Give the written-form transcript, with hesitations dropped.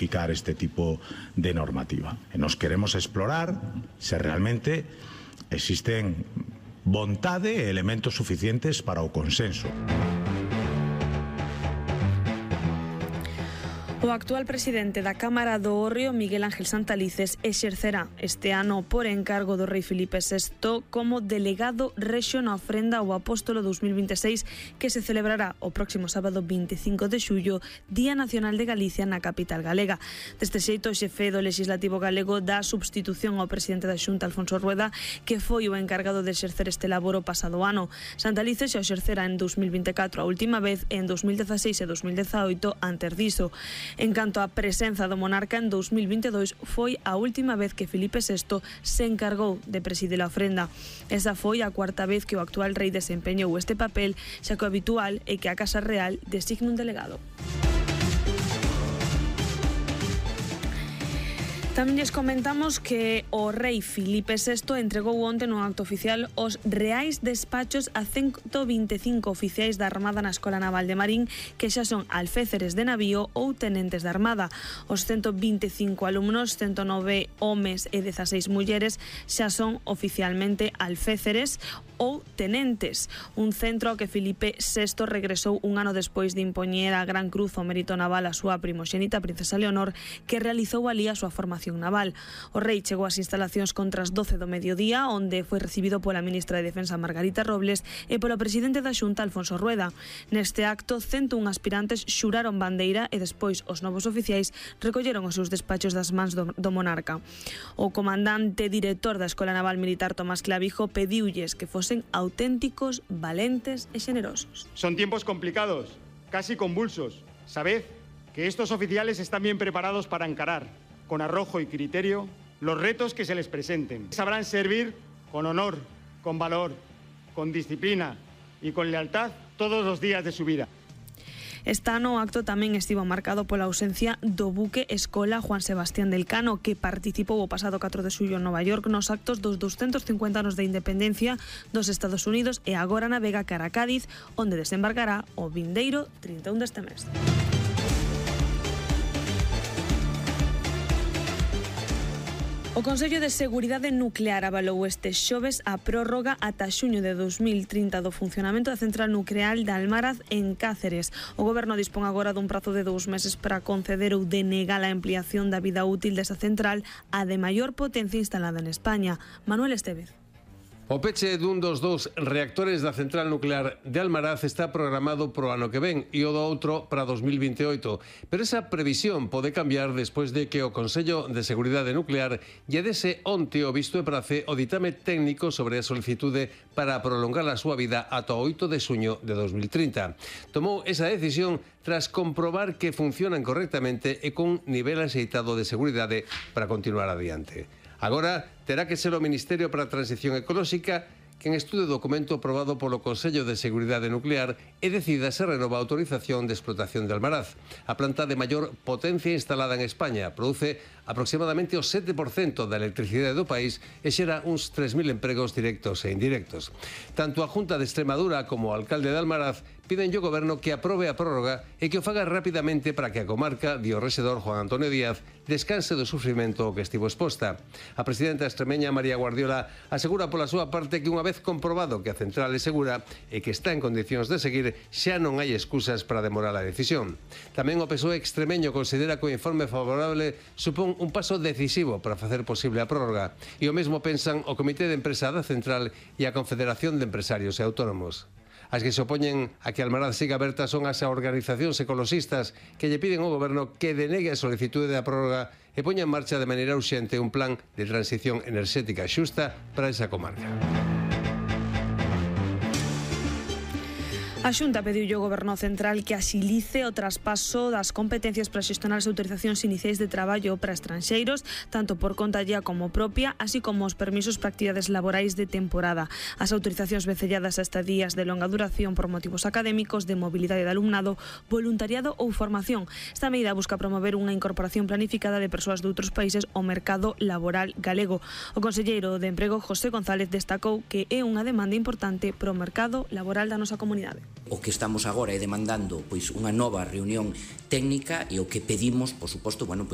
este tipo de normativa. Nos queremos explorar se realmente existen vontade e elementos suficientes para o consenso. O actual presidente da Cámara do Hórreo, Miguel Ángel Santalices, exercerá este ano por encargo do rei Filipe VI como delegado rexio na ofrenda ao Apóstolo 2026 que se celebrará o próximo sábado 25 de xullo, Día Nacional de Galicia na capital galega. Deste xeito, o xefe do Legislativo galego dá substitución ao presidente da Xunta, Alfonso Rueda, que foi o encargado de exercer este labor o pasado ano. Santalices xa exercerá en 2024 a última vez e en 2016 e 2018 antes diso. En canto á presenza do monarca, en 2022 foi a última vez que Filipe VI se encargou de presidir a ofrenda. Esa foi a cuarta vez que o actual rei desempeñou este papel, xa que o habitual é que a Casa Real designe un delegado. Tamén lles comentamos que o rei Filipe VI entregou onte nun acto oficial os reais despachos a 125 oficiais da Armada na Escola Naval de Marín que xa son alféceres de navío ou tenentes da Armada. Os 125 alumnos, 109 homes e 16 mulleres, xa son oficialmente alféceres ou tenentes. Un centro ao que Filipe VI regresou un ano despois de impoñer a Gran Cruz ao Mérito Naval a súa primoxénita princesa Leonor, que realizou alí a súa formación naval. O rei chegou ás instalacións contra as 12 do mediodía, onde foi recibido pola ministra de Defensa Margarita Robles e polo presidente da Xunta, Alfonso Rueda. Neste acto, 101 aspirantes xuraron bandeira e despois os novos oficiais recolleron os seus despachos das mans do monarca. O comandante director da Escola Naval Militar, Tomás Clavijo, pediulles que fosen auténticos, valentes e xenerosos. Son tiempos complicados, casi convulsos. Sabed que estos oficiales están bien preparados para encarar, con arrojo y criterio, los retos que se les presenten. Sabrán servir con honor, con valor, con disciplina y con lealtad todos los días de su vida. Este ano o acto tamén estivo marcado pola ausencia do buque Escola Juan Sebastián del Cano, que participou o pasado 4 de xullo en Nova York nos actos dos 250 anos de independencia dos Estados Unidos e agora navega cara a Cádiz, onde desembarcará o vindeiro 31 deste mes. O Consello de Seguridade Nuclear avalou este xoves a prórroga ata xuño de 2030 do funcionamento da central nuclear de Almaraz en Cáceres. O Goberno dispón agora dun prazo de 2 meses para conceder ou denegar a ampliación da vida útil desa central a de maior potencia instalada en España. Manuel Estevez. O peche dun dos dous reactores da central nuclear de Almaraz está programado pro ano que ven e o do outro para 2028, pero esa previsión pode cambiar despois de que o Consello de Seguridade Nuclear lle dese onte o visto e prace o ditame técnico sobre a solicitude para prolongar a súa vida ata o 8 de xuño de 2030. Tomou esa decisión tras comprobar que funcionan correctamente e con nivel axeitado de seguridade para continuar adiante. Agora terá que ser o Ministerio para a Transición Ecolóxica quen estude o documento aprobado polo Consello de Seguridade Nuclear e decida se renova a autorización de explotación de Almaraz. A planta de maior potencia instalada en España produce aproximadamente o 7% da electricidade do país e xera uns 3.000 empregos directos e indirectos. Tanto a Junta de Extremadura como o alcalde de Almaraz piden ao Goberno que aprobe a prórroga e que o faga rapidamente para que a comarca, di o rexedor Juan Antonio Díaz, descanse do sufrimento ao que estivo exposta. A presidenta extremeña María Guardiola asegura pola súa parte que unha vez comprobado que a central é segura e que está en condicións de seguir, xa non hai excusas para demorar a decisión. Tamén o PSOE extremeño considera que o informe favorable supón un paso decisivo para facer posible a prórroga e o mesmo pensan o Comité de Empresa da Central e a Confederación de Empresarios e Autónomos. As que se opoñen a que Almaraz siga aberta son as organizacións ecoloxistas que lle piden ao Goberno que denegue a solicitude da prórroga e poña en marcha de maneira urxente un plan de transición enerxética xusta para esa comarca. A Xunta pediu ao Goberno Central que axilice o traspaso das competencias para xestionar as autorizacións iniciais de traballo para estranxeiros, tanto por conta allá como propia, así como os permisos para actividades laborais de temporada. As autorizacións vencelladas a estadías de longa duración por motivos académicos, de mobilidade de alumnado, voluntariado ou formación. Esta medida busca promover unha incorporación planificada de persoas de outros países ao mercado laboral galego. O conselleiro de Emprego, José González, destacou que é unha demanda importante para o mercado laboral da nosa comunidade. O que estamos agora é demandando pois unha nova reunión técnica e o que pedimos, por suposto, bueno, pois